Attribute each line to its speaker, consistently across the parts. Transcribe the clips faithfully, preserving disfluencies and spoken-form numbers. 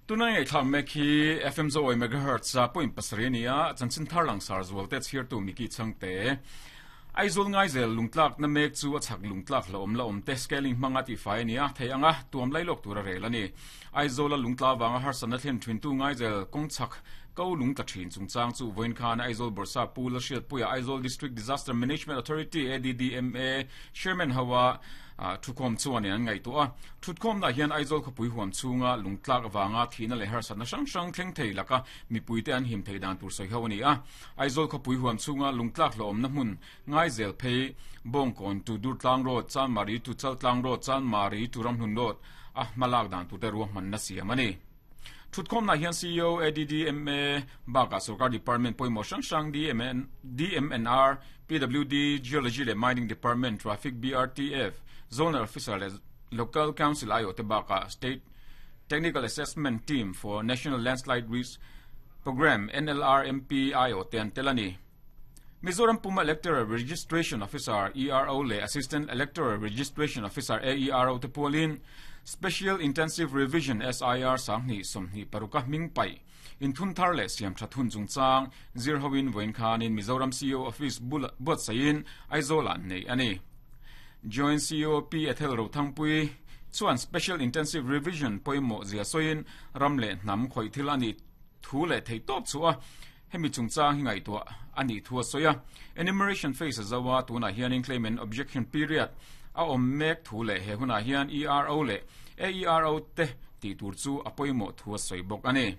Speaker 1: Tunai ngai thlam mek hi F M zo oi megahertz a point pasarih ania chanchin thar langsar zual te chhiartu Miki Changte. Aizawl Ngaizel lungtlak na mek chu a chhak lungtlak hlauhawm la awm te scaling hmanga tihfai a ni a, thei anga tuam lailawk tur a rel a ni. Aizawla lungtla vanga harsatna thlen thintu Ngaizel kawng chhak ko lungtla thin chungchang chu vawiin khan Aizawl Bawrhsa Pu Lalhriatpuia Aizawl District Disaster Management Authority, A D D M A, Chairman hoa thukhawm chuan in an ngaihtuah a. Thutkhawmna hian Aizawl khawpui huam chhunga lungtlak avanga thihna leh harsatna hrang hrang thleng thei laka mipuite an him thei dan tur sawi ho a ni a. Aizawl khawpui huam chhunga lungtlak hlauhawmna hmun Ngaizel phei Bawngkawn to Durtlang Road, Chanmari to Chaltlang Road, Chanmari to Ramhlun Road a hmalak dan tur te ruahmanna siam a ni. Thutkhawmna hian C E O A D D M A baka sarkar department pawimawh hrang hrang D M N, D M N R, P W D, Geology leh Mining Department, Traffic, B R T F, Zonal Officer leh Local Council aiawh te baka State Technical Assessment Team for National Landslide Risk Program, N L R M P aiawh te an tel a ni. Mizoram Puma Electoral Registration Officer, E R O leh Assistant Electoral Registration Officer, A E R O te pualin Special Intensive Revision, S I R sanghnih sawmhnih paruka hming pai inthun thar leh siam tha thun chungchang zir hoin vawiin khanin Mizoram C E O Office buatsain Aizawl ah nei ani. Joint C E O P Ethel Rothangpui chuan Special Intensive Revision pawimawh zia sawiin ram leh hnam khawih thil ani thu leh thei tawp chu a hemi chungchang hi ngaihtuah ani thu a sawi a. Enumeration phase zawa tunah hianin claim and objection period a awm mek thu leh he hunah hian E R O leh A E R O te tih tur chu a pawimawh thu a sawi bawk ani.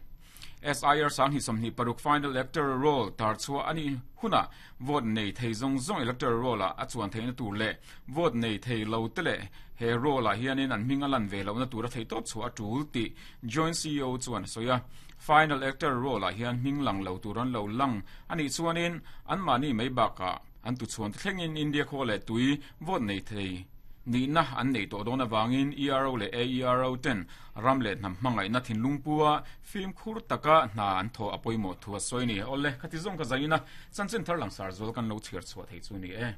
Speaker 1: S I R sanghnih sawmhnih paruk final electoral roll tar chhuah ani huna vote nei thei zawng zawng electoral roll a a chuan theihna tur leh vote nei thei lo te leh he roll ah hianin an hming a lan ve lohna tur a thei tawp chu a tul tih Joint C E O chuan a sawi a. Final electoral roll ah hian hming lang lo tur an lo lang ani chuanin an mahni mai bakah an tu chuan te thlengin India khaw leh tui vote nei thei nihna an nei tawh dawn awangin E R O leh A E R O ten ram leh hnam hmangaihna thinlung pua fimkhur taka hna an thaw a pawimawh thu a sawi ni. Awle, khati zawng ka zaina chanchin thar langsar zual kan lo chhiar chhuah thei chu ni e.